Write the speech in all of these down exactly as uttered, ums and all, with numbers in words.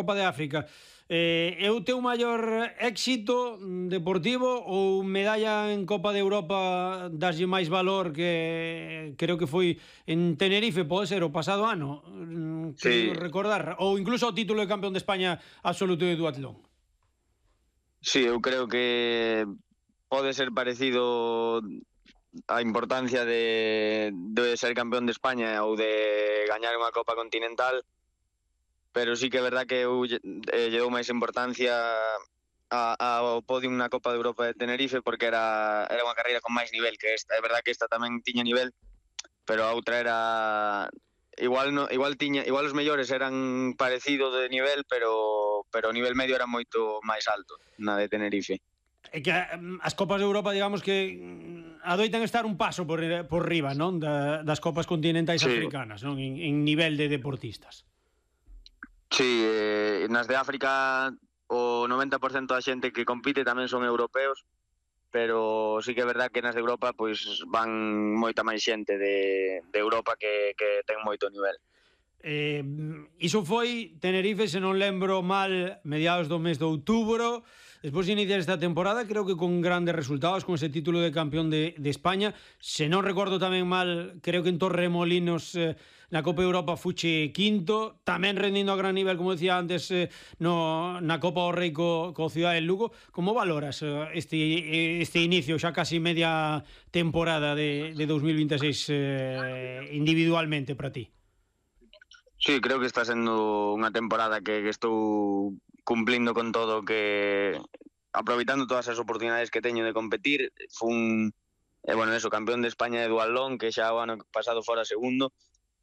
Copa de África. Eh, é o teu maior éxito deportivo ou medalla en Copa de Europa daslle máis valor que creo que foi en Tenerife, pode ser o pasado ano, Sí. creo recordar, ou incluso o título de campeón de España absoluto de duatlón? Sí, eu creo que pode ser parecido a importancia de, de ser campeón de España ou de gañar unha Copa Continental, pero sí que é verdad que eu eh, lle dou máis importancia a, ao podium na Copa de Europa de Tenerife porque era, era unha carreira con máis nivel que esta. É verdad que esta tamén tiña nivel, pero a outra era igual no, igual tiña, igual os mellores eran parecido de nivel, pero pero o nivel medio era moito máis alto na de Tenerife. É que as Copas de Europa, digamos que adoitan estar un paso por, por riba, non? Da, das Copas continentais sí. africanas, non? En, en nivel de deportistas. Sí, eh, nas de África o noventa por cento da xente que compite tamén son europeos, pero sí que é verdad que nas de Europa pois van moita máis xente de, de Europa que, que ten moito nivel. Eh, iso foi Tenerife, se non lembro mal, mediados do mes de outubro. Despois de iniciar esta temporada, creo que con grandes resultados, con ese título de campeón de, de España. Se non recordo tamén mal, creo que en Torremolinos eh, na Copa Europa fuche quinto, tamén rendindo a gran nivel, como decía antes, eh, no, na Copa do Rei co, co Cidade del Lugo. Como valoras eh, este, este inicio, xa casi media temporada de, de dos mil veintiséis eh, individualmente para ti? Sí, creo que está sendo unha temporada que, que estou cumplindo con todo, que aproveitando todas as oportunidades que teño de competir. Fun, eh, bueno, eso, campeón de España de duatlón, que xa o ano pasado fora segundo.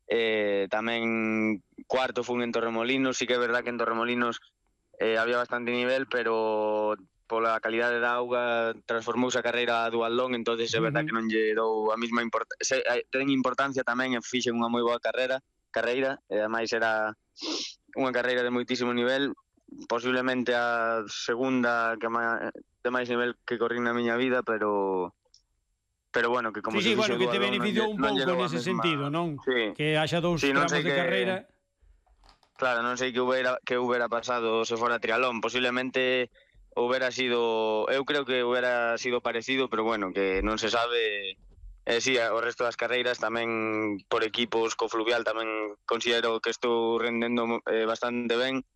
Eh, tamén cuarto fun en Torremolinos. Sí que é verdad que en Torremolinos eh, había bastante nivel, pero pola calidade da auga transformouse a carreira a duatlón, entonces é verdad que non lle dou a mesma importancia. Ten importancia tamén e fixen unha moi boa carreira, carreira, e ademais era unha carreira de moitísimo nivel, posiblemente a segunda que má, de máis nivel que corrí na miña vida, pero pero bueno, que como sí, se sí, bueno, que te beneficiou un pouco nese mesma... sentido, non? Sí. Que haxa dous sí, tramos de que... carreira. Claro, non sei que hubiera que hubiera pasado se fora trialón, posiblemente hubiera sido, eu creo que hubiera sido parecido, pero bueno, que non se sabe. Eh, sí, o resto das carreiras tamén por equipos, co Fluvial tamén considero que estou rendendo eh, bastante ben,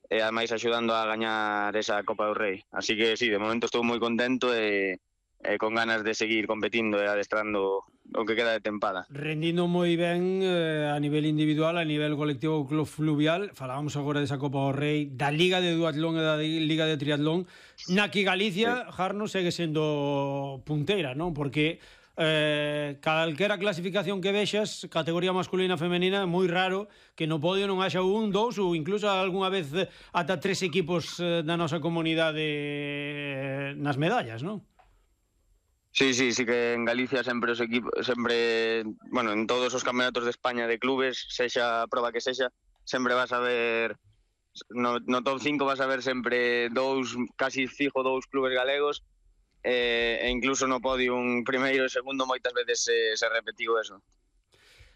e ademais axudando a gañar esa Copa do Rei. Así que sí, de momento estou moi contento e, e con ganas de seguir competindo e adestrando o que queda de tempada. Rendindo moi ben eh, a nivel individual, a nivel colectivo Club Fluvial. Falábamos agora desa Copa do Rei, da Liga de Duatlón e da Liga de Triatlón. Na que Galicia, sí. Jarno, segue sendo punteira, non? Porque Eh, calquera clasificación que vexas, categoría masculina e femenina, é moi raro que no podio non haxa un, dous ou incluso algunha vez ata tres equipos eh, da nosa comunidade eh, nas medallas, non? Sí, sí, sí que en Galicia sempre os equipos, sempre, bueno, en todos os campeonatos de España de clubes, sexa a proba que sexa, sempre vas a ver no, no top cinco vas a ver sempre dous, casi fijo dous clubes galegos. Eh, e incluso no podio un primeiro e segundo moitas veces se, se repetiu eso.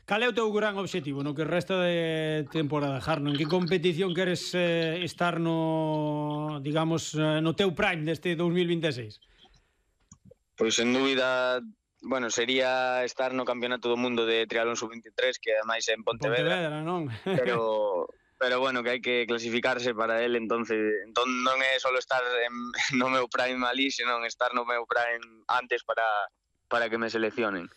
Cal é o teu gran obxectivo no que resta de temporada, Jarno? En que competición queres eh, estar no, digamos, no teu prime deste dos mil veintiséis? Pois sen dúbida, bueno, sería estar no Campeonato do Mundo de Triatlón sub veintitrés, que ademais é en Pontevedra. Pontevedra, non? Pero pero bueno, que hai que clasificarse para él, entonces entón non é só estar en, no meu prime ali, senón estar no meu prime antes para, para que me seleccionen.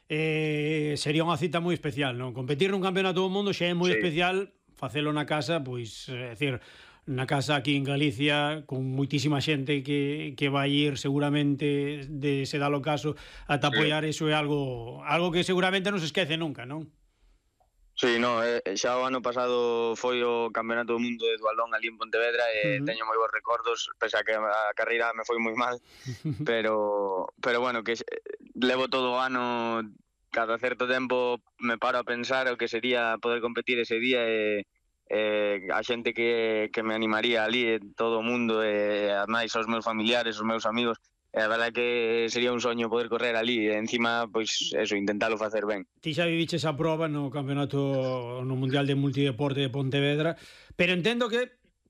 Eh, sería unha cita moi especial, non? Competir nun campeonato do mundo xa é moi sí. especial, facelo na casa, pois, é dicir, na casa aquí en Galicia, con moitísima xente que, que vai ir seguramente, de se dá o caso, ata apoiar, sí. Eso é algo, algo que seguramente non se esquece nunca, non? Sí, no, eh, xa o ano pasado foi o Campeonato do Mundo de Duatlón ali en Pontevedra e uh-huh. teño moi bons recordos, pese a que a carreira me foi moi mal, pero pero bueno, que levo todo o ano, cada certo tempo me paro a pensar o que sería poder competir ese día e eh, a xente que, que me animaría ali, todo o mundo, e ademais os meus familiares, os meus amigos. A verdade é que sería un soño poder correr ali e encima, pois, eso, intentalo facer ben. Ti xa viviches a proba no campeonato no Mundial de Multideporte de Pontevedra, pero entendo que